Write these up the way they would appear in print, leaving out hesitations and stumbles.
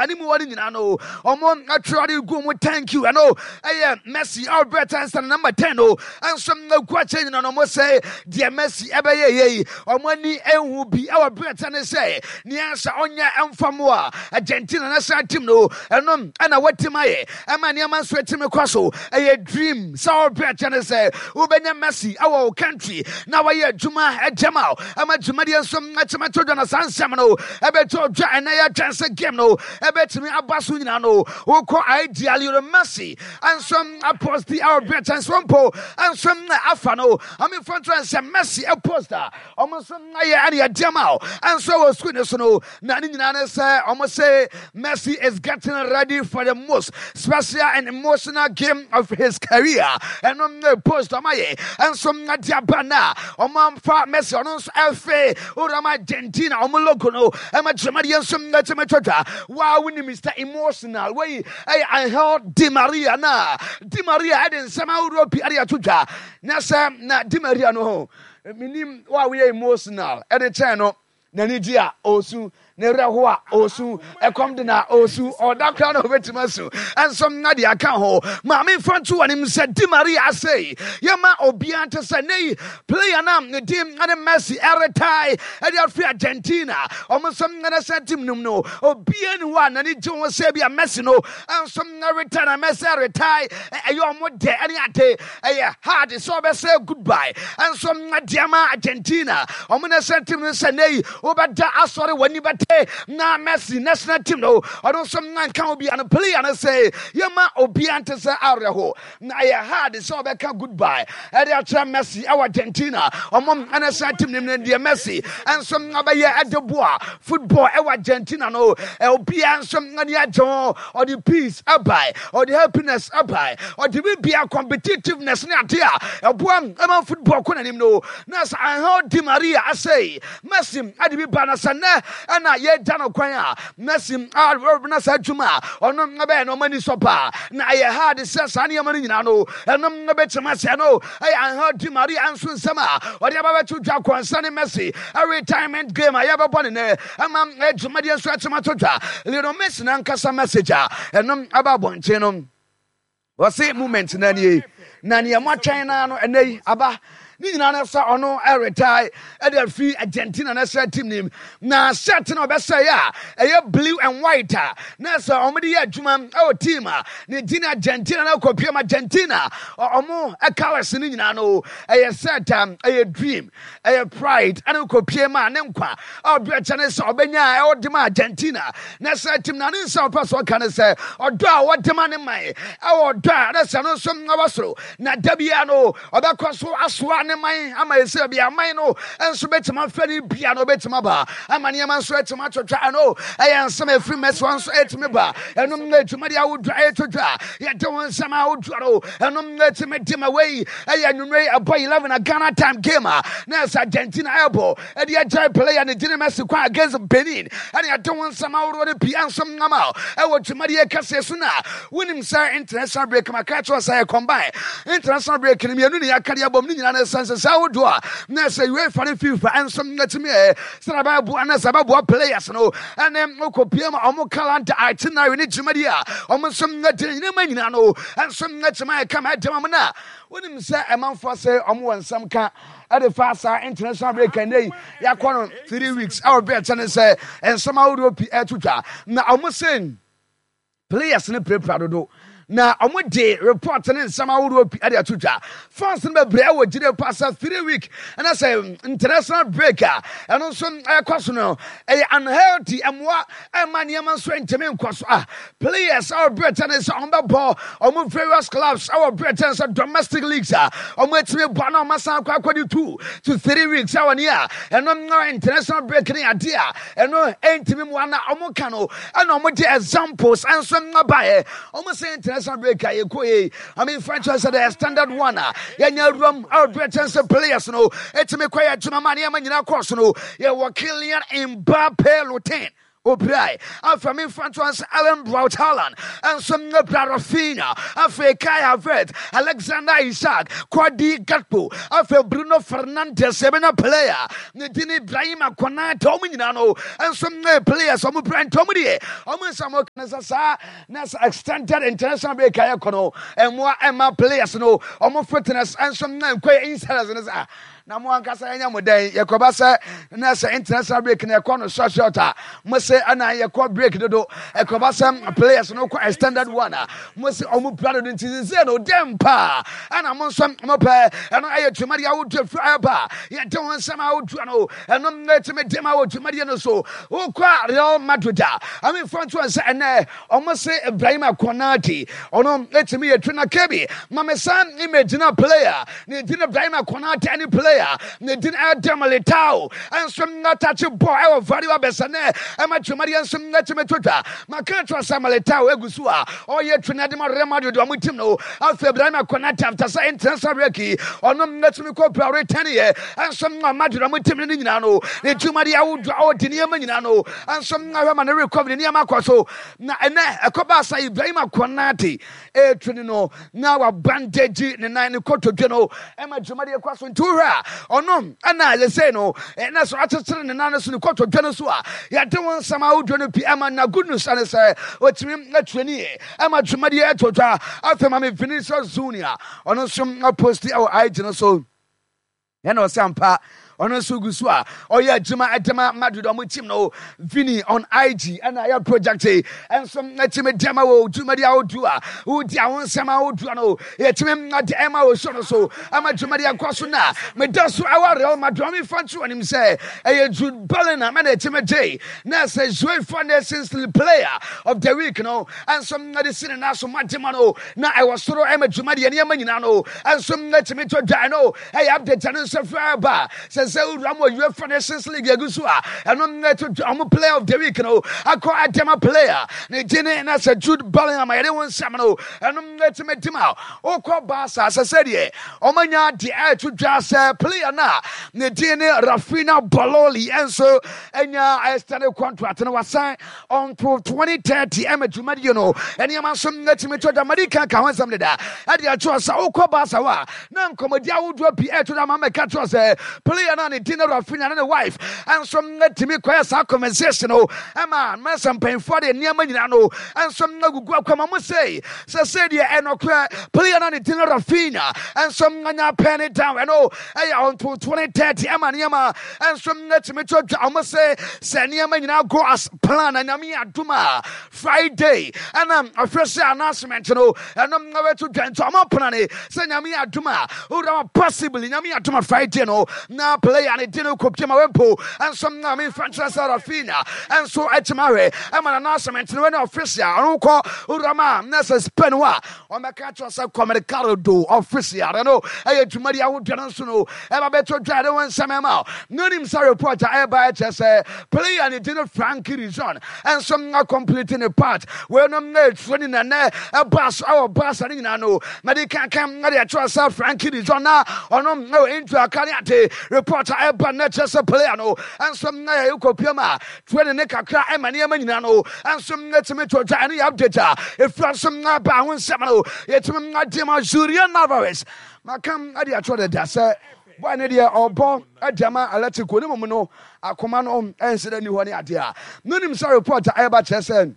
Anim hɔ no nyinaa no, ɔmo atwerɛ de gu ɔmo thank you. Ɛno ɛyɛ Messi a ɔbrɛ tan sɛ number 10 no nso gu akyɛ nyina no, ɔmo sɛ deɛ Messi ɛbɛyɛ yɛ yi, ɔmo ani ehu bi ɛwɔ brɛ tan ne sɛ nea sɛ ɔnyɛ ɛmfa mo a Argentina national team no, ɛno ɛna watim ayɛ ɛma nneɛma nso atumi kɔ so. Ɛyɛ dream sɛ ɔbrɛ kyɛ ne sɛ wobɛnya Messi ɛwɔ wo country na wayɛ adwuma ɛgyama ɛma dwumadie nso atumi to dwa. Na saa nsɛm no ɛbɛtɔ dwa ɛnɛ yɛtwɛn sɛ game no ɛbɛtumi aba so nyinaa no, wokɔ idea Lionel Messi nso apost a ɔbrɛ kyɛn so mpo nso afa no amefo nso sɛ Messi post a ɔmo nso ayɛ ɛne ɛdeɛ ma nso wɔ sukuu ne so no. Na ne nyinaa ne sɛ ɔmo sɛ Messi is getting ready for the most special and emotional game of his career. Ɛno ne post ɔmo ayɛ nso de aba na ɔmo amfa Messi ɔno nso ɛfe owurama Argentina ɔmo logo no ɛma dwumadie nso ɛtumi twatwa. Waa woni Mr Emotional wei ɛyɛ Angel Di Maria. Na Di Maria ɛde nsɛm ahodoɔ pii ɛde ato dwa na sɛ na Di Maria no ho menim wa woyɛ emotional ɛde kyɛn no, n'ani gye a ɔresu, ne werɛ ho a ɔresu, ɛkɔm de na ɔresu, ɔda koraa na ɔbɛtumi asu ɛnso na deɛ aka ho. Maame mfa nto w'anim sɛ Di Maria asɛi yɛma obiara nte sɛ ne yi player no a ne din ne Messi ɛretae ɛde afiri Argentina ɔmo nso national team nom no, obiara ni hɔ a n'ani gye ho sɛ bi a Messi no nso retae na Messi retae ɛyɛ ɔmo dɛ ɛne ade. Ɛyɛ hard sɛ ɔbɛsɛ goodbye nso deɛ ma Argentina ɔmo national team no sɛ ne yi wobɛda asɔre w'ani bɛte na Messi national team no ɔno nso nka obiara no player no sɛ yɛma obiara nte sɛ awerɛho na ɛyɛ hard sɛ ɔbɛka goodbye ɛde akyerɛ Messi ɛwɔ Argentina ɔmo national team no. Deɛ Messi nso abɛyɛ ɛde boa football ɛwɔ Argentina no, obiara nso ani agye ho. Ɔde peace ɛbae, ɔde happiness ɛbae, ɔde bibia competitiveness ne ade a ɛboa ɛma football kɔ n'anim no. Na sɛ Angel Di Maria asɛe Messi ade bi ba na sɛ nnɛ ɛna yɛgya no kwan a Messi na saa adwuma a ɔno bɛyɛ no ɔma ani sɔ paa na ɛyɛ hard sɛ saa nneɛma no nyinaa no ɛnom bɛtumi asɛ no. Ɛyɛ Angel Di Maria nso nsɛm a ɔde aba bɛto dwa kɔnsa ne Messi retirement game a yɛbɛbɔ ne nɛ ɛma dwumadeɛ nso atumi ato dwa. Lionel Messi nankasa message a ɛnom aba abɔnten no, wɔse moment na nie na nea moatwɛn naa no ɛnɛ yi aba. Ne nyinaa no sɛ ɔno ɛretae ɛde afiri Argentina national team nim na shirt na ɔbɛsɛe a ɛyɛ blue and white a na sɛ ɔmode yɛ adwuma ɛwɔ team a ne din Argentina na kɔpiem Argentina ɔmo colours no nyinaa no, ɛyɛ shirt a ɛyɛ dream, ɛyɛ pride ɛne kɔpiem a ne nkwa a ɔbrɛ kyɛ ne sɛ ɔbɛnya a ɛwɔ de ma Argentina national team. Na ne nsa ɔpɛ so ɔka ne sɛ ɔdɔ a wɔde ma ne man ɛwɔ ɔdɔ a na sɛ no nso ɛwɔ soro na da biara no ɔbɛkɔ so asoa ne man ama ɛsɛ bi aman no nso bɛtumi afɛ ne bia no ɔbɛtumi aba ama nneɛma nso atumi atwitwa. Ɛno ɛyɛ nsɛm ɛfiri Messi hɔ nso ɛtumi ba. Ɛnom na adwumadi ahodoɔ ɛtwitwa, yɛde wo nsɛm ahodoɔ no ɛnom na ɛtumi di ma. Wei ɛyɛ anwummerɛ yi ɛbɔ 11 a Ghana time game a na ɛsɛ Argentina ɛbɔ ɛde agyae player ne gyene Messi kwan against Benin. Ɛne ɛde wo nsɛm ahodoɔ no pii nso nama ɛwɔ dwumadie kɛseɛ so. Na wonim sɛ international break maka kyerɛ sɛ yɛ combine international break no mmienu ne yɛaka de abom ne nyinaa no ɛsɛ nsesɛ ahodoɔ a na ɛsɛ UEFA ne FIFA nso atumi ɛ sɛ bɛboa na sɛ bɛboa players no ɛne wokɔpie ma ɔmo calendar itinerary ne dwumadie a ɔmo nso adi nneɛma nyinaa no nso atumi ayɛ kama ɛdɛm am. Na wonim sɛ ɛmanfoɔ sɛ ɔmo wɔ nsɛm ka ɛde fa saa international break ɛnɛ yi yɛakɔ no 3 weeks ɛwɔ berɛ kyɛ ne sɛ nsɛm ahodoɔ pii ɛto twa na ɔmo sɛ players no pirapira dodo na ɔmo de report ne nsɛm ahodoɔ pii ɛde ato dwa. Fans no bebree ɛwɔ gyina pa sɛ 3 week ɛna sɛ international break a ɛno nso ɛkɔ so no ɛyɛ unhealthy, ɛmoa ɛma nneɛma nso ntumi nkɔ so a players ɛwɔ berɛ ne sɛ ɔmo bɛbɔ ɔmo various clubs ɛwɔ berɛ ne sɛ domestic leagues a ɔmo atumi bɔ na ɔmo asan akɔ akɔde 2 to 3 weeks ɛwɔ ne a ɛno no international break ne adeɛ a ɛno ɛntumi mu ana ɔmo ka no. Ɛna ɔmo de examples ɛnso mmabaeɛ. Ɔmo sɛ international break a yɛkɔ yi, I mean, franchise sɛ the standard one a yɛnya awuram a ɔbrɛ kyɛn sɛ players no ɛtumi kɔ yɛ adwuma ma nneɛma nyinaa kɔɔ so no, yɛwɔ Kylian Mbappe Lutin. Opirae. Afei memfa nto ase Erling Braut Haaland nso apira Raphinha. Afei Kai Havertz, Alexander Isak, Cody Gakpo, afei Bruno Fernandes ebenya player ne din Ibrahima Konate wɔn nyinaa no nso ne players wɔn pira nti wɔn deɛ wɔn nsa wɔn kan sɛ saa na sɛ extended international break a yɛkɔ no mmoa ɛma players no wɔn fitness nso na nkɔ yɛ insiders no sɛ Na mo ankasa yɛnyɛ mo dɛn? Yɛkɔba sɛ na sɛ international break na yɛkɔ no short short a, mo se ɛna yɛkɔ break dodo. Ɛkɔba sɛ players no kɔ extended one a, mo se ɔmo pira dodo nti sese no dɛn paa ɛna mo nso mo pɛ. Ɛno ɛyɛ dwumadi ahodoɔ firi ɛba yɛde ho nsɛm ahodoɔ no ɛno ɛtumi de ma wɔ dwumadie no so. Wokɔ Real Madrid a, amefa nto sɛ ɛnɛ Ɔmo se Ibrahima Konate ɔno etumi yɛ trainer Kebi ma me san image na player ne din Ibrahima Konate ne player ne din Eder Militao nso atakye bɔ ɛwɔ Vario abɛsɛ nɛ ɛma dwumadeɛ nso etumi to dwa ma ka kyerɛ sɛ Militao egu so a ɔyɛ trainer de ma Real Madrid ɔmo team no afei Ibrahima Konate after sɛ international break ɔno etumi kɔ pra return yɛ nso ma Madrid ɔmo team no ne nyinaa no ne dwumadeɛ ahodoɔ a ɔdi nneɛma nyinaa no nso ahwɛ ma ne recovery nneɛma akɔ so na ɛnɛ ɛkɔbaa sɛ Ibrahim Konate ɛretu ne no na wabandagyi ne nan ne kotodwe no ɛma dwumadie kɔ so nti wohwɛ a ɔno ɛna yɛsei no ɛna so akyekyere ne nan no so ne kotodwe no so a yɛde wo nsɛm ahodoɔ no pii ɛma na good news ɛne sɛ ɔtumi atue ne yie ɛma dwumadie ɛtɔ dwa. Afei ma me Vinicius Junior ɔno nso aposti ɛwɔ IG no so ɛna ɔsɛ ampa ɔno nso gu so a ɔyɛ adwuma ɛde ma Madrid ɔmo team no. Vini on IG ɛna ɛyɛ project ɛnso ɛtumi de ma wɔ dwumadi ahodoɔ a wodi aho nsɛm ahodoɔ no yɛtumi de ɛma wɔ so no so ama dwumadi akɔ so na meda so ɛwɔ Real Madrid ɔmo fa nto anim sɛ ɛyɛ Jude Bellingham ɛna ɛtumi gye na sɛ UEFA Nations League Player of the Week no ɛnso ɛde si ne nan so ma de ma no na ɛwɔ soro ɛma dwumadi nneɛma nyinaa no ɛnso ɛtumi to dwa no ɛyɛ update no nso fɛ ba sɛ sɛ wura mu UEFA Nations League egu so a ɛno ɛto dwa ɔmo player of the week no akɔ adama player ne gyene na sɛ Jude Bellingham yɛde wɔn nsɛm no ɛno ɛtumi di ma wokɔ Barca sɛ sɛ deɛ ɔmo anya deɛ ɛto dwa sɛ player no a ne din ne Rafinha Bololi ɛnso anya extended contract no wasan until 2030 ɛma dwumadie no nneɛma nso atumi tɔ dwa madi kan ka ho nsɛm deda ɛde ato sɛ wokɔ Barca hɔ a na nkɔmmɔdi ahodoɔ pii ɛto da ma mɛka kyerɛ sɛ player no a ne din no Rafinha ne ne wife nso atumi kɔyɛ saa conversation no ɛma mɛsɛ mpanyinfoɔ de nneɛma nyinaa no nso agugu akwama mo sei sɛ sɛ deɛ ɛnɔkorɛ player no a ne din no Rafinha nso anya pɛn ne down ɛno ɛyɛ until 2030 ɛma nneɛma nso atumi to dwa ɔmo se sɛ nneɛma nyinaa go as plan na Nyame adom a Friday ɛna ɔhwɛ sɛ announcement no ɛno ɛbɛto dwa nti ɔmo pena ne sɛ Nyame adom a owura ma possibly Nyame adom a Friday no na player ne di no kɔpie ma wempo ɛnso na memfa nkyerɛ sɛ Rafinha ɛnso akyima ahwɛ ɛma na announcement no ɛne official ɔno kɔ owura ma na sɛ Spain hɔ a ɔmɛka kyerɛ sɛ Kɔmɛrikaro official no ɛyɛ dwumadi ahodoɔ no nso no ɛba bɛto dwa de wo nsɛm ɛma no nim sɛ report a ɛba ɛkyerɛ sɛ player ne din no Frankie Rizon ɛnso na complete ne part weinom na ɛturo ne nɛnɛ ɛba so ɛwɔ Barca ne nyinaa no na de kankan na de ɛkyerɛ sɛ Frankie Rizon na ɔno na wɔ injury aka ne ade report a ɛba na ɛkyerɛ sɛ player no ɛnso na yɛ kɔpia mu a training ne kakra ɛma nneɛma nyinaa no ɛnso na ɛtumi to dwa. Ɛno yɛ update a ɛfira nso na ba ho nsɛm no yɛtumi ade ma Julian Alvarez maka ade akyerɛ dada sɛ boy ne deɛ ɔbɔ ade ama Atletico ne mmom no akoma no ɛnhyɛ dɛ ni hɔ ne adeɛ a no nim sɛ report a ɛba kyerɛ sɛ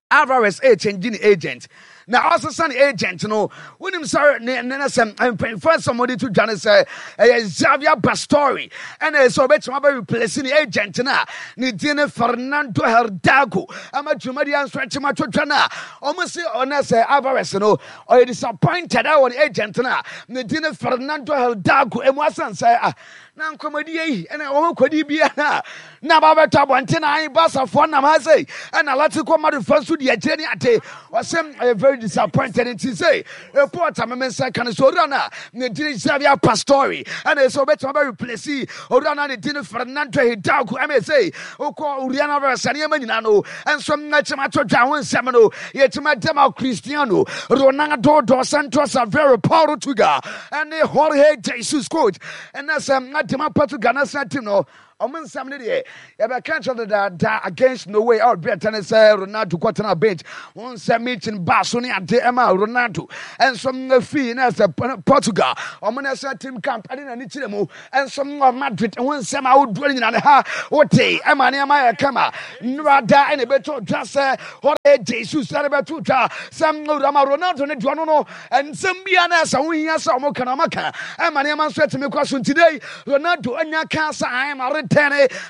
Alvarez ɛkyɛngye ne agent na ɔsesa ne agent no wonim sɛ ne ne sɛ mpanyinfoɔ nsɛm wɔde to dwa ne sɛ ɛyɛ Xavier Pastore ɛna ɛsɛ ɔbɛtumi abɛ replace ne agent no a ne din ne Fernando Hidalgo ama dwumadi nso akyim ato dwa no a wɔn se ɔnɛ sɛ Alvarez no ɔyɛ disappointed ɛwɔ ne agent no a ne din ne Fernando Hidalgo emu asan sɛ ah na nkɔmmɔdie yi ɛna wɔn kɔdi biara na ba bɛtɔ abɔnten na ayi basafoɔ nam ha sei ɛna Atletico Madrid fa nso di akyire ne ade ɔsɛm ɛyɛ very disappointed nti sei report a mɛmɛ nsa ka no so owura no a ne din Xavier Pastore ɛna ɛsɛ ɔbɛtumi abɛ replace owura no a ne din Fernando Hidalgo ɛna ɛsɛ wokɔ owura no abɛsɛ nneɛma nyinaa no ɛnso ɛkyɛm ato dwa ho nsɛm no yɛtumi adɛm a Cristiano Ronaldo dos Santos Aveiro Portugal ɛne Jorge Jesus coach ɛna sɛ adema Portugal national team no. Ɔmo nsɛm no deɛ yɛbɛka kyerɛ dedaada against Norway a ɔbrɛ tɛne sɛ Ronaldo kɔtena bench ho nsɛm meeting baa so ne ade ɛma Ronaldo nso fii na sɛ Portugal ɔmo national team camp ɛde n'ani kyerɛ mu nso wɔ Madrid ho nsɛm ahodoɔ no nyinaa ne ha wote ɛma nneɛma yɛ kama nnora da ɛna ɛbɛtɔ dwa sɛ Jorge Jesus ɛna ɛbɛto dwa sɛ owurama Ronaldo ne deɛ ɔno no nsɛm biara na ɛsɛ ho hia sɛ ɔmo ka na ɔmo ka ɛma nneɛma nso atumi kɔ so nti dɛ Ronaldo anya ka sɛ ayɛ ma retɛne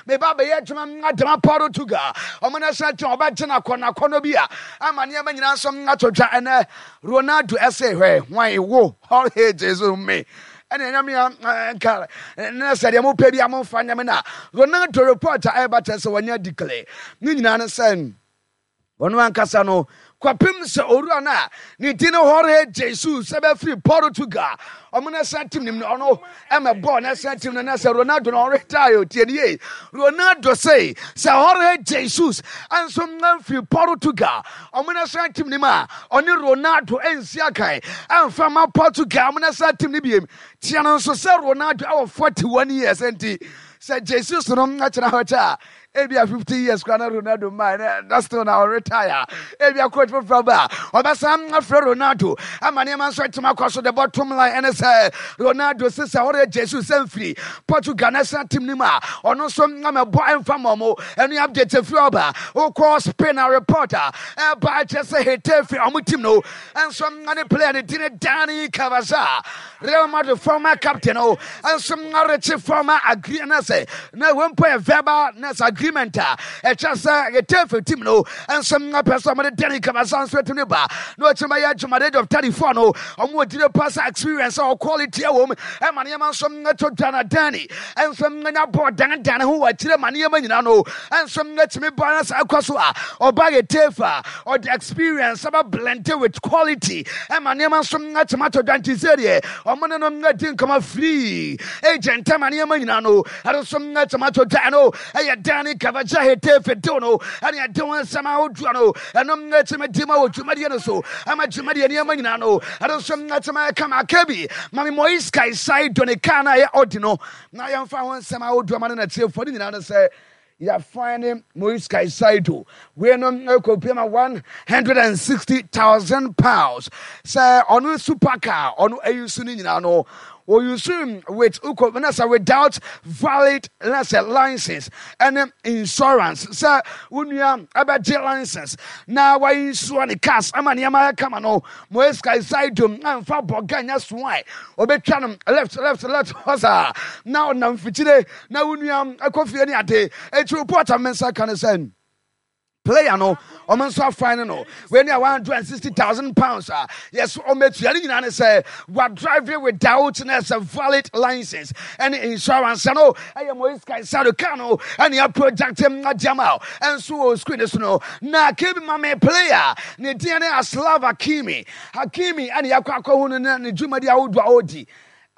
meba bɛyɛ adwuma adama Portugal ɔmo national team ɔbɛgye no akɔ n'akɔnɔ bi a ama nneɛma nyinaa nso ato dwa. Ɛnɛ Ronaldo ɛsɛ hwɛ hwan wo Jorge Jesus me ɛne ɛnyame a nka ne sɛ deɛ mopɛ bi a momfa nyɛ me. Na Ronaldo report a ɛba kyerɛ sɛ wɔnyɛ declare ne nyinaa no sɛ ɔno ankasa no kɔpem sɛ owura no a ne din no Jorge Jesus ɛbɛfiri Portugal ɔmo national team nim no, ɔno ɛmɛ bɔɔl national team no na sɛ Ronaldo no ɔretire. Tie ne yie, Ronaldo sɛ Jorge Jesus nso mfiri Portugal ɔmo national team nim a, ɔne Ronaldo nsi akan ɛmfa ma Portugal ɔmo national team no biem. Tia no nso sɛ Ronaldo ɛwɔ 41 years, nti sɛ Jesus no akyerɛ hɔ kyɛ a, ebia 50 years kora na Ronaldo mmaa na still na ɔretire. Ebia coach foforɔ ba a ɔbɛsan afrɛ Ronaldo ama nneɛma nso atumi akɔ so. The bottom line ɛne sɛ Ronaldo sɛ ɔreyɛ Jesus sɛ mfiri Portugal national team no mu a, ɔno nso amɛbɔ ɛmfa ma ɔmo. Ɛno update afiri ɔba. Wokɔ Spain a, report a ɛba ɛkyerɛ sɛ Getafe ɔmo team no nso ne player ne din Dani Carvajal, Real Madrid former captain no, nso arekye former agree na sɛ na wɔn mpo yɛ verbal na sɛ agreement a ɛkyerɛ sɛ Getafe team no nso apɛ sɛ ɔmo de Dani Carvajal nso atumi ba na ɔkyerɛ bɛyɛ adwuma. Age of 34 no, ɔmo wɔ gyina pa sɛ experience a quality ɛwɔ mu ɛma nneɛma nso ɛtɔ dwa. Na Dani nso nya bɔɔl dandan ho wɔ akyire ma nneɛma nyinaa no nso atumi ba na sɛ ɛkɔ so a, ɔba Getafe a, ɔde experience ɛbɛ blend with quality ɛma nneɛma nso atumi atɔ dwa. Nti sɛ deɛ ɔmo ne no adi nkɔmɔ free agent ɛma nneɛma nyinaa no ɛno nso atumi atɔ dwa no. Ɛyɛ Dani Carvajal Getafe deal no ɛne ɛde wɔn nsɛm ahodoɔ no ɛno atumi di ma wɔ dwumadie no so ama dwumadie nneɛma nyinaa no ɛno nso atumi kama aka bi. Mame Moise Caicedo ne kaa no a ɛyɛ ɔdi no na yɛmfa ho nsɛm ahodoɔ ma no natiefoɔ no nyinaa no sɛ yɛafine ne Moise Caicedo wei no ɛkɔpie ma £160,000 sɛ ɔno supercar ɔno ayi so no nyinaa no ɔuse with wokɔ na sɛ without valid na sɛ license ɛne insurance. Sɛ wo nua ɛbɛgye license na wayi nsuo ne cars ama nneɛma ayɛ kama no, Moise Caicedo amfa bɔga nyɛ soae, ɔbɛtwa no left, left, left hɔ saa na ɔnam fikyire na wo nua akɔ fie ne ade. Enti report a me nsa ka ne sɛ player no ɔmo nso afine no wei ne a £160,000 a yɛso ɔmɛtua ne nyinaa ne sɛ wa drive without na ɛsɛ valid license ɛne insurance no. Ɛyɛ Moise Caicedo car no ɛne a project adiama ɛnso wɔ screen so no. Na kebi ma me player ne din ne Achraf Hakimi. Hakimi ɛne yɛakɔ akɔhu no ne dwumadi ahodoɔ a ɔredi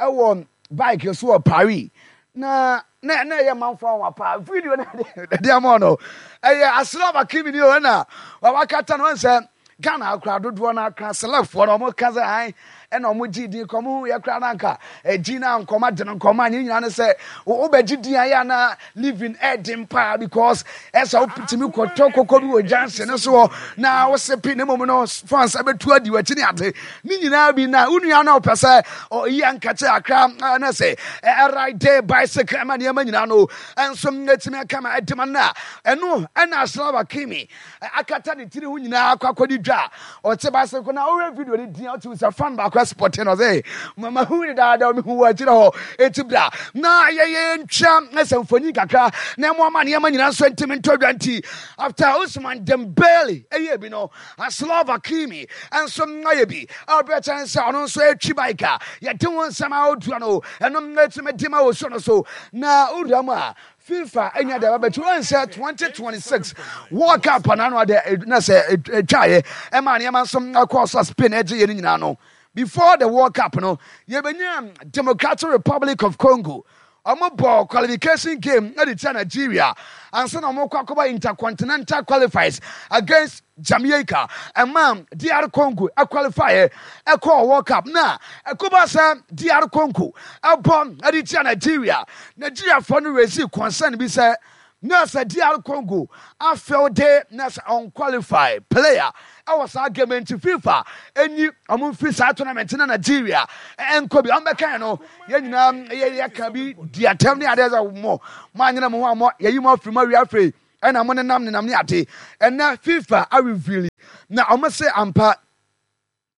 ɛwɔ bike so wɔ Paris na ɛyɛ manfo anwa paa. Video no ɛde ama no ɛyɛ Achraf Hakimi ni o, ɛna wawakata no sɛ Ghana akora dodoɔ no akra celebfoɔ no ɔmo ka sɛ an ɛna ɔmo gye din kɔ ɔmo yɛ kora no anka ɛgyi na nkɔma de no nkɔma nyɛ nyinaa no sɛ wobɛgye din ayɛ ana living ɛden paa because ɛsɛ wotumi kɔtɔ koko bi wɔ junction no so hɔ na wosepe ne mmom no fans ɛbɛtu adi w'akyi ne ade ne nyinaa bi. Na wo nua no wopɛ sɛ ɔyi ankakyɛ akra na sɛ ɛride bicycle ɛma nneɛma nyinaa no ɛnso ɛtumi aka ma ɛde ma no a, ɛno ɛna Achraf Hakimi akata ne tiri ho nyinaa akɔ akɔdi dwa a ɔte bicycle. Na ɔhwɛ video no din a ɔte sɛ fan baako ɛspɔte no sɛ mama hu ne daadaa mehu wɔ akyirɛ hɔ. Ɛti bra na yɛyɛ ntwa sɛ mfonyin kakra na ɛmo ama nneɛma nyinaa nso ntimi ntɔ dwa. Nti after Ousmane Dembele ɛyɛ bi no, Achraf Hakimi nso ayɛ bi a ɔbɛkyɛn sɛ ɔno nso atwi bike a yɛde wɔn nsɛm ahodoɔ no ɛno ɛtumi di ma wɔ so no so. Na owura mu a FIFA anya de abɛbɛtu wɔn sɛ 2026 World Cup na ano ade na sɛ atwaeɛ ɛma nneɛma nso akɔ so a Spain agye yɛ no nyinaa no, before the World Cup no, yɛbɛnya Democratic Republic of Congo ɔmo bɔ qualification game ɛde tia Nigeria ansa na ɔmo kɔ akɔba intercontinental qualifiers against. Jamaica ɛma DR Congo ɛqualify ɛkɔɔ World Cup na ɛkɔba sɛ DR Congo ɛbɔ ɛde tia Nigeria. Nigeriafoɔ no raise concern bi sɛ na sɛ DR Congo afɛw na sɛ unqualified player ɛwɔ saa game nti FIFA enyi ɔmo mfiri saa tournament na Nigeria ɛnkɔ bi. Ɔmo bɛka no yɛn nyinaa yɛ yɛka bi di atɛm ne adeɛ sɛ mo anyina mo ho a mo yɛyi mo afiri mo awia afei ɛna mo nenam nenam ne ade. Ɛnɛ FIFA areveal na ɔmo se ampa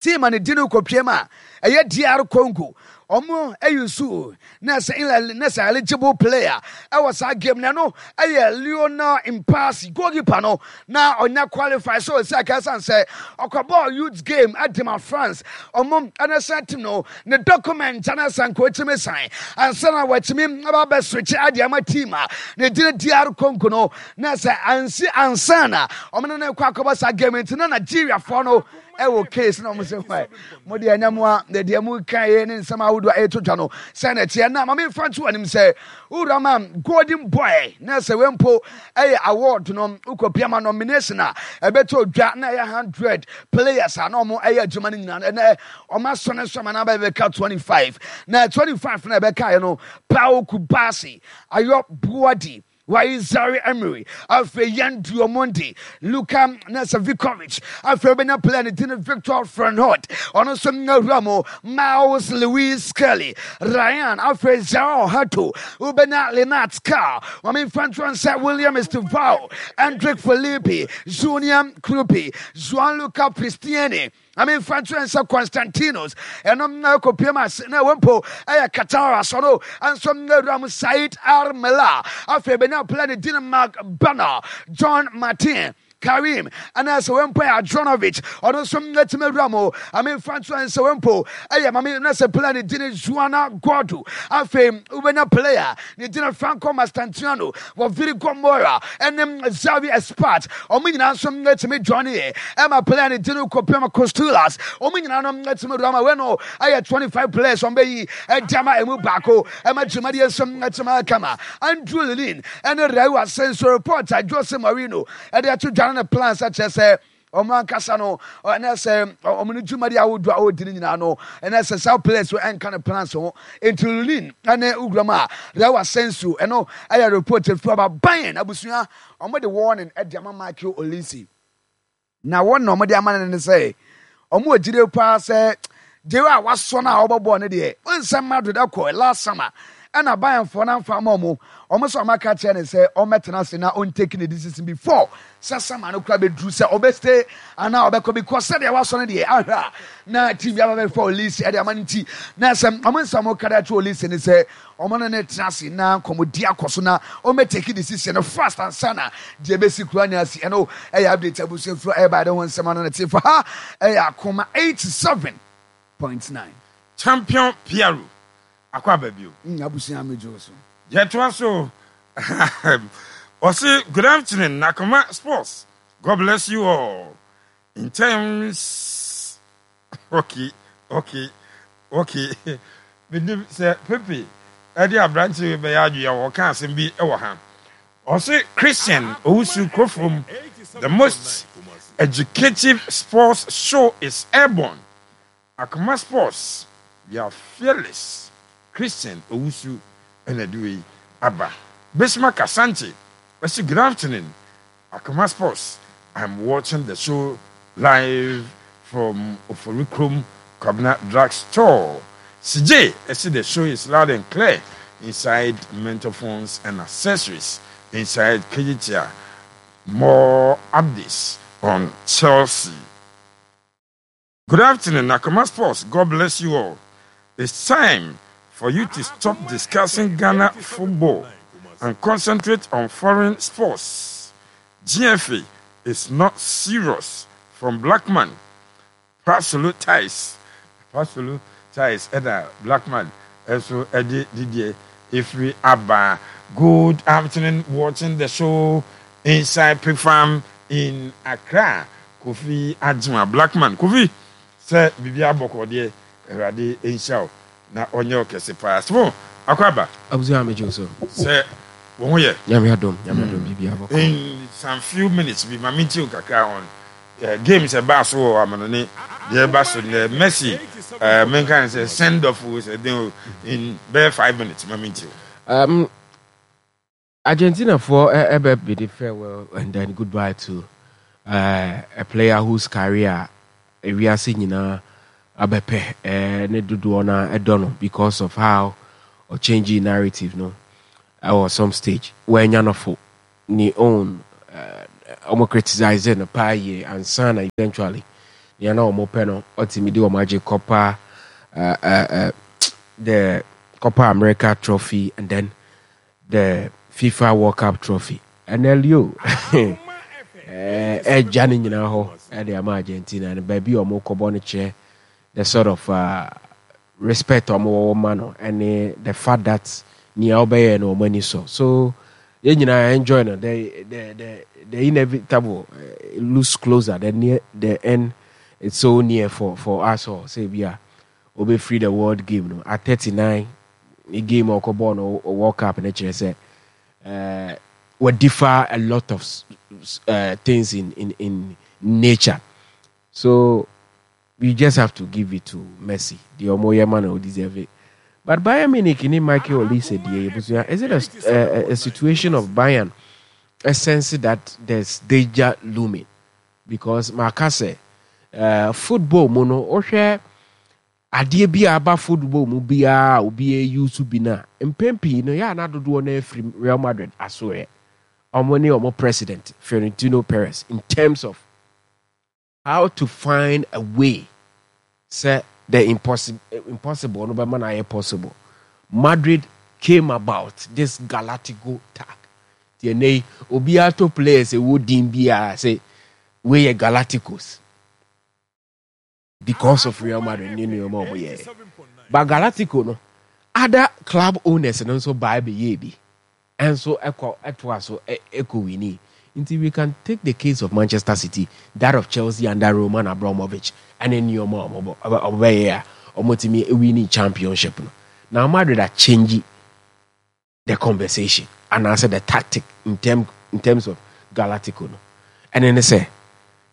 team a ne di no kɔpiem a ɛyɛ DR Congo, ɔmo ayi so na sɛ na sɛ eligible player ɛwɔ saa game na no ɛyɛ Lionel Mpasi, goalkeeper no, na ɔnya qualify so ɔsi aka san sɛ ɔkɔbɔɔ youth game ɛde France. Ɔmo ɛna sɛ team no ne document ɛna sɛ nka ɔtumi san ansa na wɔatumi aba abɛswitch ade ama team a ne din DR Congo no, na sɛ ansi ansa na ɔmo ne no kɔ akɔbɔ saa game. Nti na Nigeriafoɔ no ɛwɔ case na ɔmo sɛ hɔ mo deɛ ɛnyɛ mo a na deɛ mo ka yɛ ne nsɛm ahodoɔ a ɛto dwa no sɛ na ɛteɛ. Na maame nfa nto anim sɛ wura ma Golden Boy na sɛ wempo ɛyɛ award no wokɔ pia ma nomination a ɛbɛtɔ dwa na ɛyɛ 100 players a na ɔmo ɛyɛ adwuma no nyinaa, ɛnɛ ɔmo asɔ ne so ama na bɛka 25, na 25 na ɛbɛka yɛ no Pau Cubarsi, Ayyoub Bouaddi, Zaire Emery, afei Yan Diomande, Luka Nasavikovic, afei wobɛnya player ne din Victor Fernhot, ɔno nso nwura mu, Myles Lewis Skelly, Ryan, afei Joao Hato, wobɛnya Lennart Karl, Mame Mfantoan sɛ William Estevao, Endrick Felipe, Junior Kroupi, Juan Luca Pristiani, I mean Francis Constantinos, ɛnom na ɛkɔpiem ase na ɛwɔ mpo ɛyɛ Qatar asɔ no nso nwura mu, Said Armela, afei bɛnya player ne din Mark Banner, John Martin Karim, ɛna sɛ wɔmpo yɛ Adronovic, ɔno nso atumi awura mu. Ame mfa nto sɛ wɔmpo ɛyɛ mame na sɛ player ne din Joana Gordo, afei wobɛnya player ne din Franco Mastantuano, wɔ Virigo Mora ɛne Xavi Espart, ɔmo nyinaa nso atumi join yɛ ɛma player ne din kɔpem Costulas, ɔmo nyinaa no atumi awura ma wei no ɛyɛ 25 players ɔmo bɛyi ɛde ama emu baako ɛma dwumadie nso atumi akama. Andrew Lilin ɛne Raul Asensio, report a Jose Mourinho ɛde ato dwa no ne plans akyerɛ sɛ ɔmo ankasa no ɛnɛ sɛ ɔmo no dwumadi ahodoɔ a ɔredi no nyinaa no, ɛnɛ sɛ saa players ɛnka ne plans ho. Nti Lilin ɛne wuram a Raul Asensio, ɛno ɛyɛ report efiri aba. Bayern abusua, ɔmo de warning ɛde ama Michael Olise, na wɔn na ɔmo de ama no ne sɛ ɔmo wɔ gyide paa sɛ deɛ a wasɔ no a ɔbɔ bɔɔl no deɛ nsɛm Madrid ɛkɔ last summer ɛna Bayernfoɔ no amfa ama ɔmo. Ɔmo sɛ ɔmo aka kyerɛ ne sɛ ɔmmɛtena ase na ɔntake ne decision before sɛ summer no kora bɛduru sɛ ɔbɛstay anaa ɔbɛkɔ, because sɛdeɛ wasɔ no deɛ ahwɛ a na team bi aba bɛfa Olise ɛde ama no. Nti na sɛ ɔmo nsɛm ɔmo kada kyerɛ Olise ne sɛ ɔmo no ne tena ase na nkɔmɔdi akɔ so na ɔmmɛtake decision no fast ansa na deɛ ɛbɛsi kura ne asi. Ɛno ɛyɛ update abusuafoɔ ɛba ɛde ho nsɛm ano ne te fa ha ɛyɛ Akoma 87.9. Champion Piero akɔ aba bio. Abusua megye so. Yɛtoa so. Ɔse good afternoon, Nakoma Sports, God bless you all. In terms okay, menim sɛ Pepe ɛde aberante wei bɛyɛ adwene a wɔka asɛm bi wɔ ha. Ɔse Christian Owusu Kurofom, the most educative sports show is airborne. Akoma Sports, we are fearless. Christian Owusu ɛna de wei aba. Bismarck Asante ɔse good afternoon, Akoma Sports, I'm watching the show live from Oforikrom Kwabena Drug Store. CJ ɛse the show is loud and clear inside Mentor Phones and Accessories inside Kejetia. More updates on Chelsea. Good afternoon, Nakoma Sports. God bless you all. It's time for you to stop discussing Ghana football and concentrate on foreign sports. GFA is not serious. From Blackman, Pasolo Ties. Pasolo Ties, ɛna Blackman, ɛso ɛde didiɛ efiri aba. Good afternoon, watching the show inside Pig Farm in Accra. Kofi Adjuma, Blackman. Kofi, sɛ biribi abɔkɔ deɛ, Awurade nhyira wo na ɔnyɛ wo kɛse paa. Simon, akɔ aba. Abusua megye wo so. Sɛ wo ho yɛ. Nyame adom, Nyame adom, biribi abɔkɔ. In some few minutes bi, ma mentie wo kakra on Games ɛbaa so wɔ amanɔne deɛ ɛba so nnɛ Messi eh, menka ne sɛ send off o sɛ den o in bɛyɛ 5 minutes ma mentie o. Argentina for ɛbɛ bid farewell and then goodbye to a player whose career ewiase nyinaa abɛpɛ ne dodoɔ no ɛdɔ no because of how ɔchange narrative no ɛwɔ some stage. Wɔanya no fo ne own ɔmo criticize no paa yie ansa na eventually nea na ɔmo pɛ no ɔtumi de ɔmo agye Copa the Copa America trophy and then the FIFA World Cup trophy. Ɛnɛ Leo ɛgya ne nyinaa hɔ ɛde ama Argentina no baabi a ɔmo kɔbɔ no kyerɛ the sort of respect ɔmo wɔwɔ ma no ɛne the fact that nea ɔbɛyɛ no ɔmo ani sɔ. So yɛn nyinaa enjoy no. The inevitable looks closer, the near the end, it's so near for us all. Sɛ bi a obɛfiri the world game no at 39, ne game a ɔkɔbɔɔ no World Cup no kyerɛ sɛ wɔdiffer a lot of things in nature. So we just have to give it to Messi. The ɔmo yɛ ma no deserve it. But Bayern Munich ni Michael Olise deɛ, ebusua, is it a situation of Bayern a sense that there's danger looming? Because maka sɛ football mu no, wohwɛ adeɛ bi a aba football mu biara a obi use bi no a, mpɛn pii no yɛ ana dodoɔ no afiri Real Madrid asoɛ ɔmo ne ɔmo president Florentino Perez in terms of how to find a way sɛ the impossible no bɛma no ayɛ possible. Madrid came about this Galactico tag. Deɛ ɛnɛ yi obiara to players ɛwɔ din biara sɛ wei yɛ Galacticos because of Real Madrid ne nneɛma a wɔyɛ. But Galactico no, other club owners no nso baa bɛyɛ bi ɛnso ɛkɔ ɛtoa so ɛkɔ win. Nti we can take the case of Manchester City, that of Chelsea under Roman Abramovich ɛne nneɛma a wɔbɔ ɔbɛyɛ a wɔtumi winning championship no. Now Madrid are changing the conversation anaasɛ the tactic in terms of Galactico no. Ɛne ne sɛ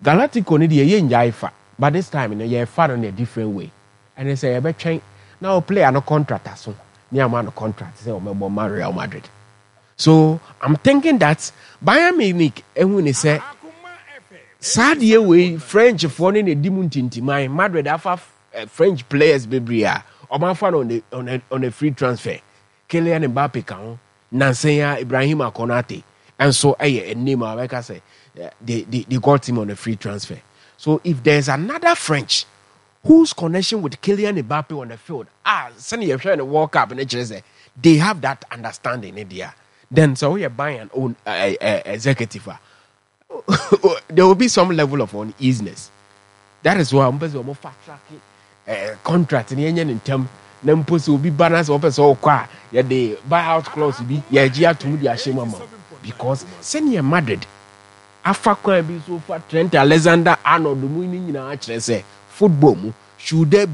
Galactico no deɛ, yɛ ngyae fa, but this time no yɛfa no in a different way. Ɛne sɛ yɛbɛtwɛn na o player no contract aso ne ama no contract sɛ ɔmɛbɔ ma Real Madrid. So I'm thinking that Bayern Munich ehu ne sɛ saa deɛ wei Frenchfoɔ no na edi mu ntintiman. Madrid afa French players bebree a ɔmo afa no on a free transfer. Kylian Mbappe ka ho, nansan a Ibrahim Konate nso ɛyɛ a name a wɔbɛka sɛ they got him on a free transfer. So if there's another French whose connection with Kylian Mbappe on the field, ah, sɛne yɛhwɛ no World Cup ne kyerɛ sɛ they have that understanding ne deɛ, then sɛ woyɛ Bayern own executive a, there will be some level of uneasiness. That is why ɔmo pɛ sɛ ɔmo fa track contract ne yɛnyɛ ne ntɛm na mpo sɛ obi ba na sɛ ɔpɛ sɛ ɔkɔ a, yɛde buyout clause bi yɛgye atom de ahyɛ mu ama wo. Because sɛnea Madrid afa kwan bi so fa Trent Alexander Arnold mu ne nyinaa kyerɛ sɛ football mu should there be